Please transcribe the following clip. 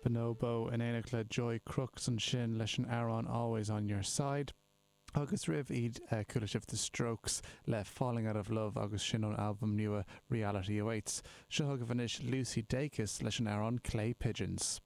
Bonobo in éineacht le Joy Crookes ansin leis an amhrán Always On Your Side. Agus roimh iad chuala sibh The Strokes le Falling Out of Love agus sin ón albam nua Reality Awaits. Seo chugaibh anois Lucy Dacus leis an amhrán Clay Pigeons.